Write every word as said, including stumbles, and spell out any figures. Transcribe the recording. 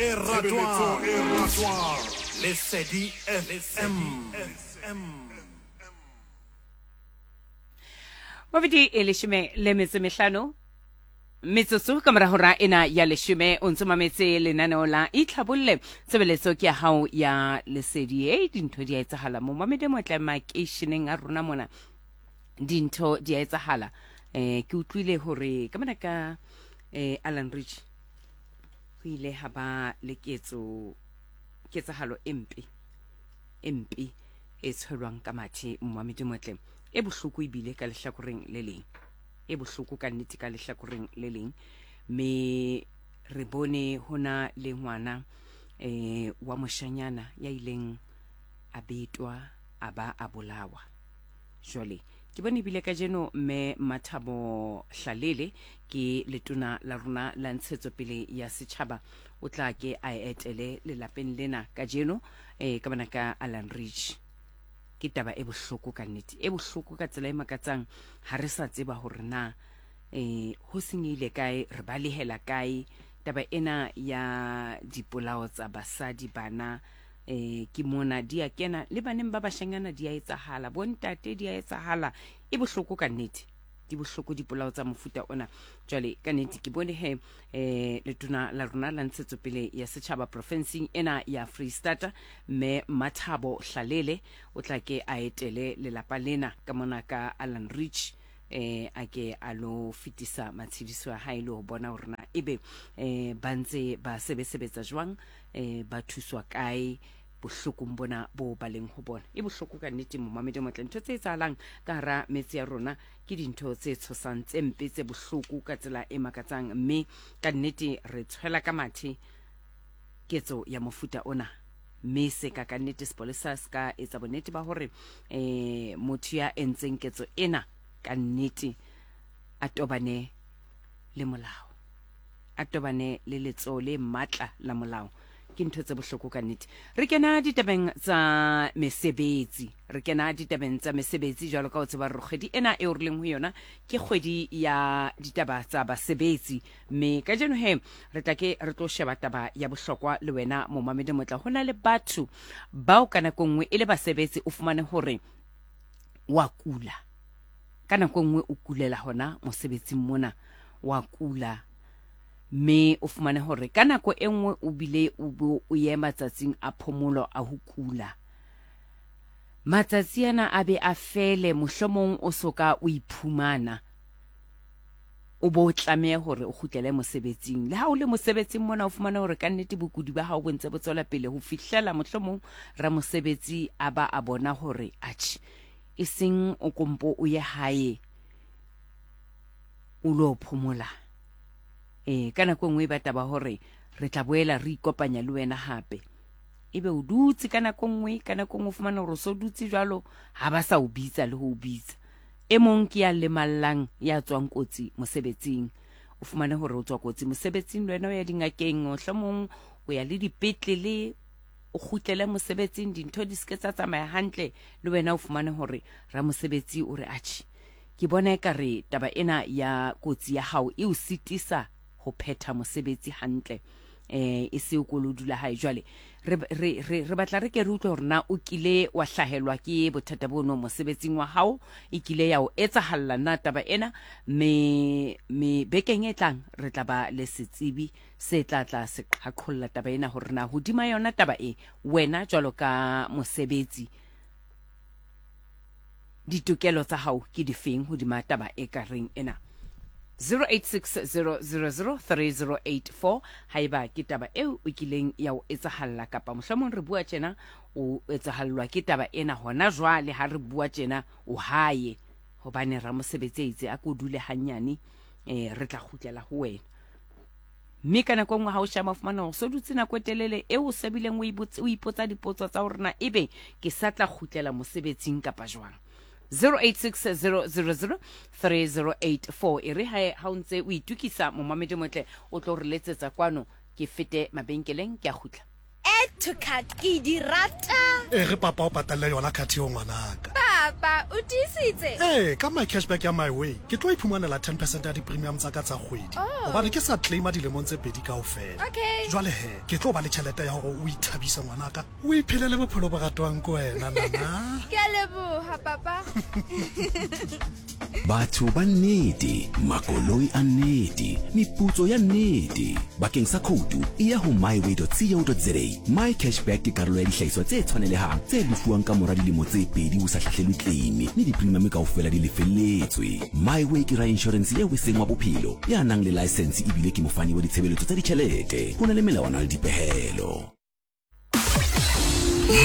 e ratwang, e ratwang, Lesedi F M. Mabedi e leshome le metso mehlano metsotso ka mora hora ena ya leshome, o ntso mametse lenaneo la Itlhabolle, tshebeletso ke ya hao ya Lesedi. E dintho di a etsahala mo mamedi motle makeisheneng a rona mona, dintho di a etsahala. Eh ke utlwile hore ka mona ka eh Alan Rich ho ile ha ba le ketso ketsahalo e mpe e mpe e tshwelwang ka mathe momamedi motle, e bohloko ebile ka lehlakoreng le leng, e bohloko ka nnete ka lehlakoreng le leng. Mme re bone hona le ngwana eh wa moshanyana ya ileng a betwa a ba a bolawa. Jwale ke bone ebile kajeno mme Mathabo Hlalele ke letona la rona la ntshetsopele ya setjhaba o tla ke a etele lelapeng lena kajeno eh ka bana ka Alan Rich. Ke taba e bohloko ka nnete, e bohloko ka tsela e makatsang. Ha re sa tseba hore na eh ho senyehile kae, re balehela kae. Taba ena ya dipolao tsa basadi bana eh ke mona di a kena le baneng ba bashanyana di a etsahala, bontate di a etsahala. E bohloko ka nnete, di bohloko dipolao tsa mofuta ona. Jwale ka nnete ke bone he eh letona la rona la ntshetsopele ya setjhaba profenseng ena ya Freistata mme Mathabo Hlalele o tla ke a etele lelapa lena ka mona ka Alan Rich, eh a ke a lo fetisa matshediso a hae le ho bona hore na ebe eh ba ntse ba sebesebetsa jwang, eh ba thuswa kae bohlokong bona bo ba leng ho bona. E bohloko ka nnete momamedi motle, ntho tse etsahalang ka hara metse ya rona ke dintho tse tshosang, tse mpe, tse bohloko ka tsela e makatsang. Mme ka nnete re tshwela ka mathe ketso ya mofuta ona, mme se ka ka nnete sepolesa se ka etsa bonnete ba hore eh motho ya entseng ketso ena ka nnete a tobane le molao, a tobane le letsoho le matla la molao. Ke ntho tse bohloko ka nnete. Re kena ditabeng tsa mesebetsi, re kena ditabeng tsa mesebetsi jwalo ka o tseba re kgwedi ena eo re leng ho yona ke kgwedi ya ditaba tsa basebetsi. Mme kajeno he re tla ke re tlo sheba taba ya bohlokwa le wena momamedi motla. Ho na le batho bao ka nako nngwe e le basebetsi, o fumane hore wa kula ka nako nngwe, o kulela hona mosebetsing mona, wa kula, mme o fumane hore ka nako e nngwe o bile o bo o ye matsatsing a phomolo a ho kula. Matsatsi ana a be a fele, mohlomong o soka o iphumana o bo o tlameha hore o kgutlele mosebetsing. Le ha o le mosebetsing mona o fumane hore ka nnete bokudi ba hao bo ntse bo tswela pele ho fihlela mohlomong ramosebetsi a ba a bona hore atjhe e seng o kompo o ye hae o lo phomola. Eh ka nako nngwe e ba taba hore re tla boela re ikopanya le wena hape, ebe o dutse ka nako nngwe, ka nako nngwe o fumana hore o so dutse jwalo ha ba sa o bitsa le ho o bitsa. E mong ke ya lemallang ya tswang kotsi mosebetsing, o fumane hore o tswa kotsi mosebetsing le wena o ya dingakeng, mohlomong o ya le dipetlele, o kgutlele mosebetsing, dintho di seke tsa tsamaya hantle le wena o fumane hore ramosebetsi o re atjhe ke bona ekare taba ena ya kotsi ya hao e o sitisa ho phetha mosebetsi hantle, eh e se o kolo dula hae. Jwale re re re batla re ke re utlwe hore na o kile wa hlahelwa ke bothata bono mosebetsing wa hao, e kile ya o etsahalla na taba ena. Me me bekeng e tlang re tla ba le setsebi se tla tla se qhaqholla taba ena hore na hodima yona taba e wena jwalo ka mosebetsi ditokelo tsa hao ke difeng hodima taba e ka reng ena. zero eight six zero zero zero three zero eight four haeba ke taba eo o kileng ya o etsahalla, kapa mohlomong re bua tjena o etsahallwa ke taba ena hona jwale ha re bua tjena o hae hobane ramosebetsi a itse a ko dule hanyane, eh re tla kgutlela ho wena. Mme ka nako nngwe ha o sheba o fumana hore so dutse nako e telele eo o sebileng o o ipotsa dipotso tsa hore na ebe ke sa tla kgutlela mosebetsing kapa jwang. zero eight six zero zero zero three zero eight four e re ha ha o ntse o itukisa momamedi motle o tlo re letsetsa kwano ke fete mabenkeleng ke a kgutla. Add to cart ke di rata. E re papa o patalle yona card eo ngwanaka. Papa Papa, o tiisitse? Ee, ka my cashback ya My Way ke tlo iphumanela ten percent ya di-premium tsa ka tsa kgwedi, Oh. gobane ke sa claima dilemong tse pedi kaofela. Okay. Jwale he, ke tlo ba le tjhelete ya hore o ithabise ngwanaka, o iphelele bophelo bo ratwang ke wena, nana. Ke a leboha, papa. Batho ba nnete, makoloi a nnete, meputso ya nnete. Bakeng sa khoutu e ya ho myway dot co dot za. My Cashback ke karolo ya dihlahiswa tse tshwanelehang tse lefuwang ka mora dilemo tse pedi o sa hlahlelwe claim, mme di-premium kaofela di lefelletswe. MyWay ke ra-insurance eo e seng wa bophelo, ya nang le license ebile ke mofani wa ditshebeletso tsa ditjhelete. Ho na le melawana le dipehelo.